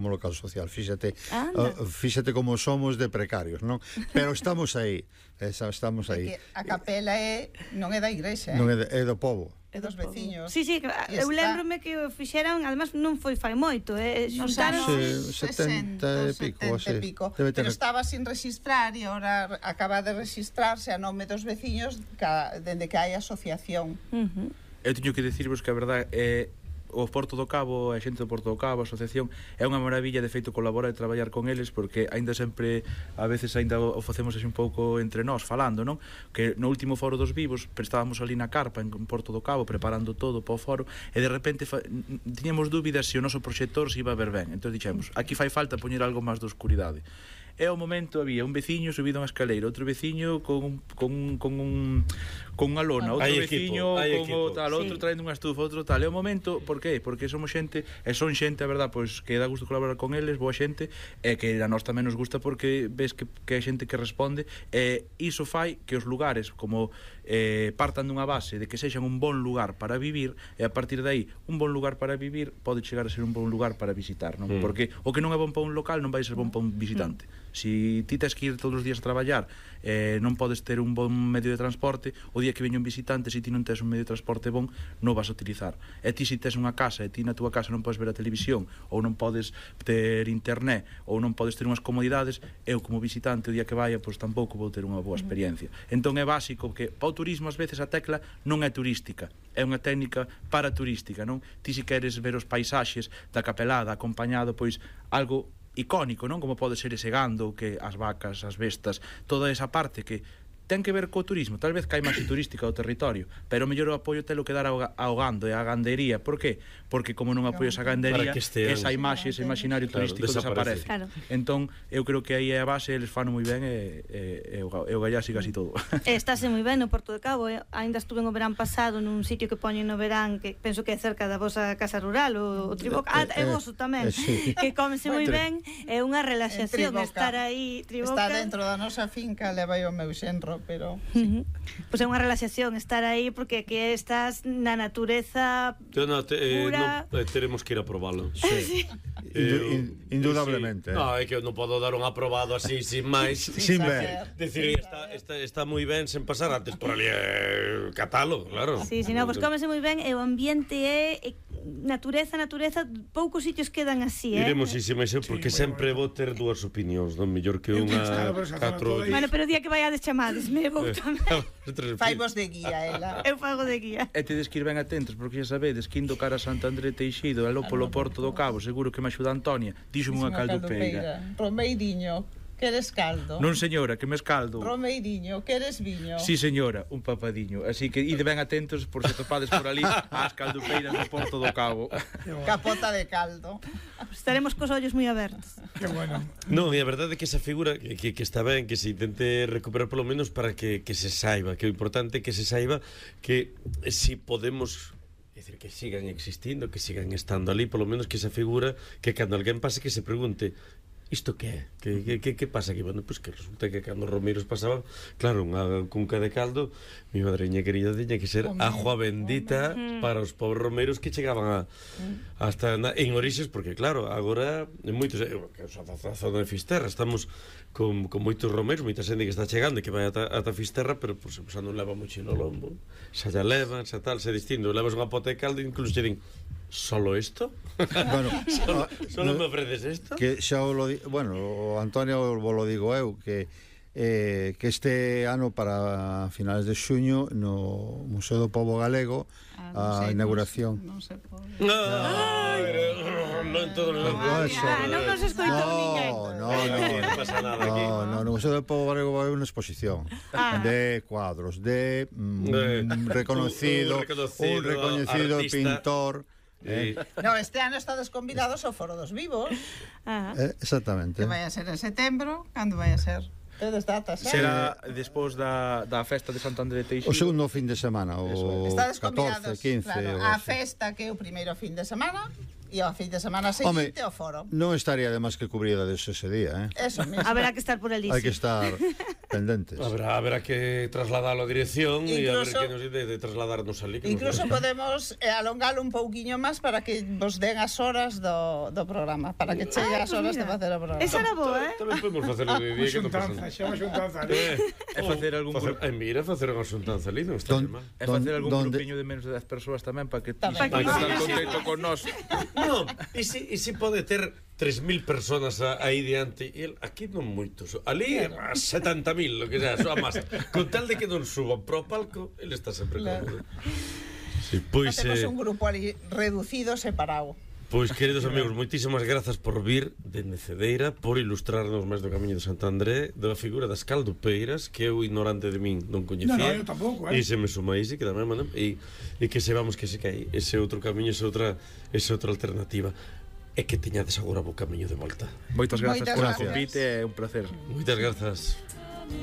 como local social, fíxate como somos de precarios, non? Pero estamos aí, estamos aí. A capela non é da igrexa, non é do povo. É dos veciños. Sí, eu lembrome que o fixeran, además non foi fai moito, xuntaron 70 e pico, pero estaba sin registrar e agora acaba de registrarse a nome dos veciños dende que hai asociación. Eu teño que dicirvos que a verdade é o Porto do Cabo, a xente do Porto do Cabo, a asociación, é unha maravilla, de feito colaborar e traballar con eles, porque aínda sempre, a veces aínda o facemos así un pouco entre nós, falando, non? Que no último foro dos vivos, estábamos ali na carpa en Porto do Cabo, preparando todo para o foro, e de repente tiñamos dúbidas se o noso proxector se iba a ver ben, entón dixemos, aquí fai falta poñer algo máis de oscuridade. E ao momento había un veciño subido a unha escaleira, outro veciño con unha lona, outro veciño con tal, outro traendo unha estufa, outro tal. E ao momento, por qué? Porque somos xente, e son xente, a verdad, pois que dá gusto colaborar con eles, boa xente, e que a nós tamén nos gusta porque ves que hai xente que responde, e iso fai que os lugares como partan dunha base de que sexan un bon lugar para vivir, e a partir de aí un bon lugar para vivir pode chegar a ser un bon lugar para visitar, non? Porque o que non é bon para un local non vai ser bon para un visitante. Si ti tes que ir todos os días a traballar, non podes ter un bon medio de transporte, o día que veña un visitante, se ti non tes un medio de transporte bon, non vas a utilizar. E ti se tes unha casa, e ti na túa casa non podes ver a televisión, ou non podes ter internet, ou non podes ter unhas comodidades, eu como visitante o día que vaya, pois tampouco vou ter unha boa experiencia. Entón é básico que para o turismo ás veces a tecla non é turística, é unha técnica para turística, non? Ti se queres ver os paisaxes da capelada acompañado, pois algo icónico, non? Como pode ser ese gando, que as vacas, as bestas, toda esa parte que ten que ver co turismo, tal vez que hai máis turística do territorio, pero o mellor o apoio telo que dar ao gando e á gandería. Por que? Porque como non apoias a gandería, esa imaxe, ese imaginario turístico desaparece. Entón, eu creo que aí é a base, eles fano moi ben e o gallá siga así todo. Estáse moi ben no Porto de Cabo, ainda estuve no verán pasado nun sitio que poñen no verán, que penso que é cerca da vosa casa rural, o Triboca, é voso tamén, que comese moi ben, é unha relaxación estar aí, Está Triboca. dentro da nosa finca, leva o meu xenro, pero pois é unha relaxación estar aí, porque aquí estás na natureza pura. Teremos que ir a probalo. Indudablemente. No, é que eu non podo dar un aprobado así sin máis, sin ver. Decir, está moi ben sen pasar antes por ali catalo, claro. Sí, no, pois comese moi ben e o ambiente é natureza, poucos sitios quedan así, Iremos máis porque sempre vou ter dúas opinións, non mellor que unha 4. Bueno, pero o día que vaiades chamades me vou tamén. Faimos de guía, ela. Eu fago de guía. E tedes que ir ben atentos, porque xa sabedes que indo cara a Sant André Teixido e logo polo Porto do Cabo, seguro que me axuda Antonia, díxome unha caldopeira. Romeiriño, queres caldo? Non señora, que me escaldo. Romeiriño, queres viño? Sí señora, un papadiño. Así que ide ben atentos por se topades por ali ás caldopeiras do Porto do Cabo. Capota de caldo. Estaremos cos ollos moi abertos. Que bueno. Non, e a verdade é que esa figura que está ben, que se intente recuperar polo menos para que se saiba, que o importante é que se saiba que si podemos, é dicir, que sigan existindo, que sigan estando ali, polo menos que esa figura, que cando alguén pase que se pregunte isto que é? Que pasa aquí? Bueno, pois que resulta que cando os romeiros pasaban, claro, unha cunca de caldo, mi madreña querida tiña que ser agua bendita para os pobres romeiros que chegaban hasta en orixes, porque claro, agora en moitos, a zona de Fisterra estamos con moitos romeiros, moita xente que está chegando e que vai ata Fisterra, pero por exemplo, xa non leva moito no lombo, xa ya levan, xa tal, xa distinto, levas unha pota de caldo e incluso che din ¿solo esto? Bueno, solo me ofreces esto? Que xa o Antonio lo digo eu que este ano para finales de xuño no Museo do Pobo Galego a inauguración. Non se pode. Non todos os non nos escoitou ninguén. Non pasa nada aquí. No Museo do Pobo Galego vai unha exposición de cuadros de reconocido pintor. No, este ano estades convidados ao Foro dos Vivos. Exactamente. Que vai a ser en setembro. Cando vai a ser? Tedes datas, Será despois da festa de Sant André Teixido. O segundo fin de semana, o 14, 15. Claro, a festa que é o primeiro fin de semana e ao fin de semana seguinte o foro. Non estaría de máis que cubrida ese día, Eso mesmo. Haberá que estar por ali. Hai que estar. pendentes. Habrá que trasladarlo a dirección e a ver que nos de trasladarnos ali. Incluso podemos alongalo un pouquiño máis para que vos den as horas do programa, para que chegue as horas de facer o programa. Esa era boa, Tamén podemos facerlo de día que non pasa nada. Xa unha xuntanza ali. É facer algún Mira, facer unha xuntanza ali, non está mal. É facer algún grupiño de menos de 10 persoas tamén para que ti estar contento con nós. Non, e si pode ter 3.000 personas aí diante e aquí non moitos, ali 70.000, lo que sea, soa máis con tal de que non suban pro palco ele está sempre cómodo. Sí, pois facemos un grupo ali reducido, separado. Pois, queridos amigos, moitísimas grazas por vir dende Cedeira, por ilustrarnos máis do Camiño de Santo André, da figura das caldupeiras, que eu ignorante de min non coñecía. No, eu tampouco, E se me sumais que tamén, e que sepamos que se cae ese outro camiño, esa outra alternativa. E que teñades agora o camiño de volta. Moitas grazas por o convite, é un placer. Moitas grazas.